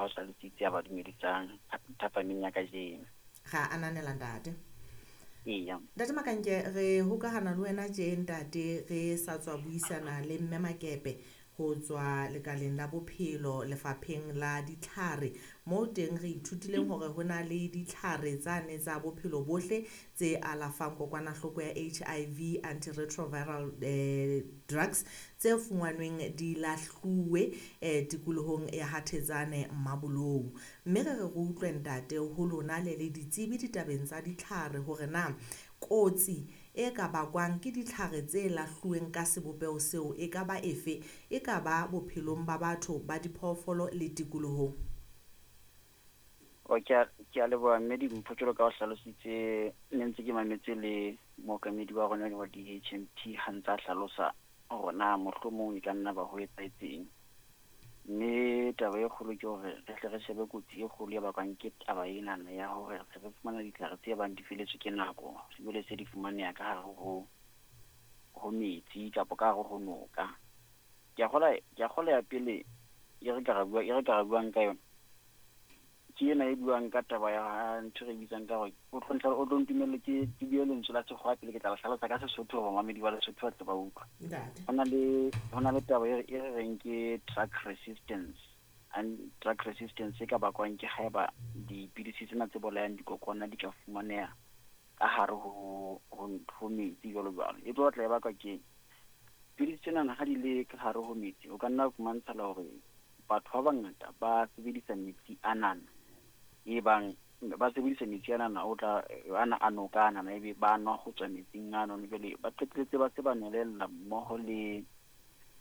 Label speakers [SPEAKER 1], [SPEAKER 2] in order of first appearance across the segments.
[SPEAKER 1] ha o hlalositse a ba dumedisang thapameng ya kajeno.
[SPEAKER 2] Ra ananela, ntate.
[SPEAKER 1] Eya.
[SPEAKER 2] Ntate Makanke, re hokahana le wena tje, ntate, re sa tswa buisana le mme Makepe ho tswa lekaleng la bophelo, lefapheng la ditlhare, moo teng re ithutileng hore ho na le ditlhare tsane tsa bophelo bohle tse alafang kokwanahloko ya HIV, antiretroviral drugs, tse fumanweng di lahluwe tikolohong ya Hathetsane Mmabolou. Mme re re re utlwe, ntate, ho lona le le ditsebi ditabeng tsa ditlhare, hore na kotsi e ka bakwang ke ditlhare tse lahluweng ka sebopeho seo e ka ba efe, e ka ba bophelong ba batho, ba diphoofolo le tikolohong.
[SPEAKER 1] O ke a leboha, mme Dimpho, jwalo ka o hlalositse, ne ntse ke mametse le mookamedi wa rona wa DHMT ha ntse a hlalosa hore na mohlomong e ka nna ba ho etsahetseng. Mme taba e kgolo ke hore re hle re shebe kotsi e kgolo e bakwang ke taba enana ya hore se re fumana ditlhare tse bang di feletswe ke nako, ebile se di fumaneha ka hare ho metsi kapa ka hare ho noka. Ke a kgolwa ya pele e re ka re buang ka yona ke ena e buang ka taba ya ntho e re bitsang ka hore o tlo ntumelle ke bue lentswe la sekgowa pele, ke tla le hlalosa ka Sesotho hore bamamedi ba Lesotho ba tle ba utlwe.
[SPEAKER 2] Ntate.
[SPEAKER 1] Ho na le taba e re reng ke drug resistance, and drug resistance e ka bakwang ke haeba dipidisi tsena tse bolayang dikokwana di ka fumaneha ka hare ho metsi jwalo jwalo. E tlo batla e bakwa ke pidisi tsena ha di le ka hare ho metsi, o ka nna fumantshala hore batho ba bangata ba sebedisa metsi anana, e bang ba sebedisa metsi anana o tla ana a noka anana, ebe ba nwa ho tswa metsing ano, jwale ba qetelletse ba se ba nwelella mmoho le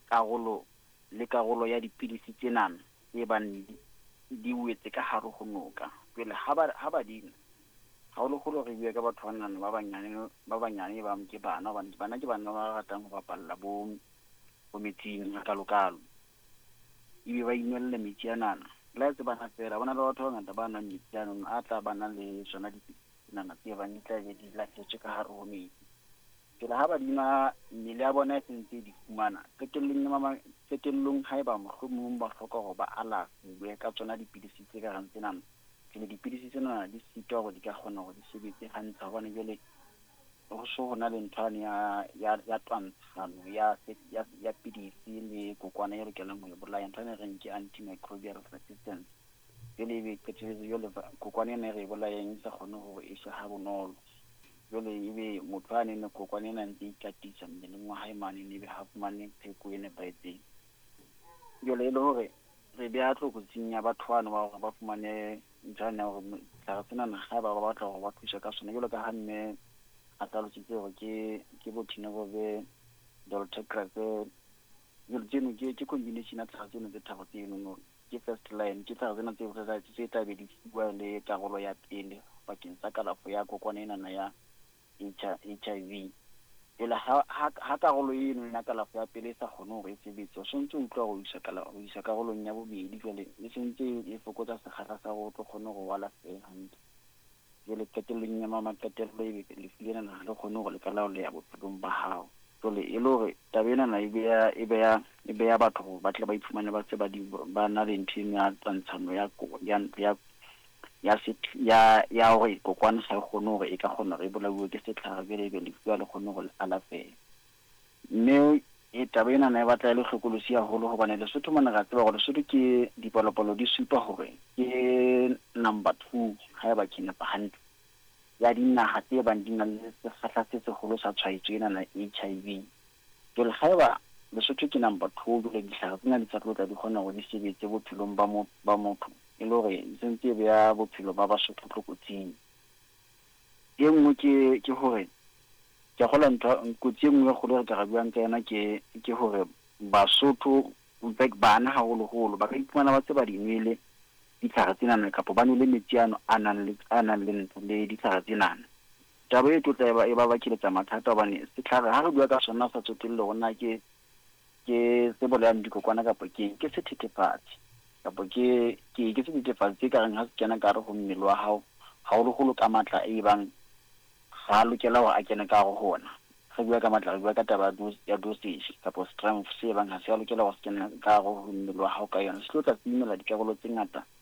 [SPEAKER 1] karolo ya dipidisi tsenana tse bang di wetse ka hare ho noka. Jwale ha ba di nwa, haholoholo re bua ka batho banana ba banyane, ba ke bana, hobane bana ke bana ba ratang ho bapalla bo metsing hakalo-kalo, ebe ba inwella metsi anana. Le ha e se bana feela, ho na le batho ba bangata ba nwang metsi ano a tla ba na le tsona dipidisi tse bang di tla be di lahletswe ka hare ho metsi. Jwale ha ba di nwa, mmele ya bona e sentse e di fumana qetellong, haeba mohlomong ba hloka hore ba alafuwe ka tsona dipidisi tse ka reng tsenana, jwale dipidisi tsena di sitwa hore di ka kgona hore di sebetse hantle, hobane jwale ho so ho na le ntho yane ya twantshano ya pidisi le kokwana e lokelang ho e bolaya, ntho ena e reng ke antimicrobial resistance. Jwale ebe qetelletse jwale kokwana ena e re e bolayang e sa kgone hore e shwe ha bonolo. Jwale ebe motho a nene kokwana ena ntse e ikatisa mmeleng wa hae mane, ebe ha fumane pheko e nepahetseng. Jwale e le hore re beha tlokotsing ya batho bano ba hore ba fumane ntho yane ya hore setlhare senana, haeba ba batla hore ba thuswe ka sona, jwalo ka ha mme a hlalositse hore ke bo tenofovir, dolutegravir, jwale tseno ke combination ya tlhare tseno tse tharo tsenono. Ke first line, ke tlhare tsena tse tla be di fuwa le karolo ya pele bakeng sa kalafo ya kokwana enana ya HIV. Jwale ha karolo eno ya kalafo ya pele e sa kgone hore e sebetse, o sontso o utlwa hore o isa karolong ya bobedi. Jwale e sentse e fokotsa sekgahla sa hore o tlo kgone hore o alafehe hantle. Jwale qetellong ya maqetello, ebe lefu lena ha le kgone hore le ka laoleha bophelong ba hao. Jwale e le hore taba enana e beha batho hore ba tle ba iphumane ba se ba di ba na le ntho eno ya twantshano ya hore kokwana ha e kgone hore e ka kgona hore e bolauwe ke setlhare. Jwale ebe lefu ha le kgone hore le alafehe. Mme e taba enana e batla e le hlokolosi haholo, hobane Lesotho mona re a tseba hore Lesotho ke dipalopalo di supa hore ke number 2, haeba ke nepa hantle, ya dinaha tse bang di na le sekgahla se seholo sa tshwaetso ena ya HIV. Jwale haeba Lesotho ke number 2, jwale ditlhare tsena di sa tlo tla di kgona hore di sebetse bophelong ba motho, e le hore e sentse e beha bophelo ba Basotho tlokotsing. E nngwe ke hore ke a kgolwa ntho kotsi e nngwe e kgolo e re ka re buang ka yona ke hore Basotho, in fact bana haholoholo, ba ka iphumana ba se ba di nwele ditlhare tsenana kapa ba nwele metsi ano a nang le ntho le ditlhare tsenana. Taba e tlotla e ba bakeletsa mathata, hobane setlhare ha re bua ka sona, sa tsotelle hore na ke se bolayang dikokwana kapa ke sethethefatsi kapa ke sethethefatsi se ka reng ha se kena ka hare ho mmele wa hao, haholoholo ka matla e bang ga a lokela hore a kene ka hare ho ona. Re bua ka matla, re bua ka taba ya dosage kapa strength se bang ha se a lokela hore se kene ka hare ho mmele wa hao ka yona, se tlo tla se imela dikarolo tse ngata.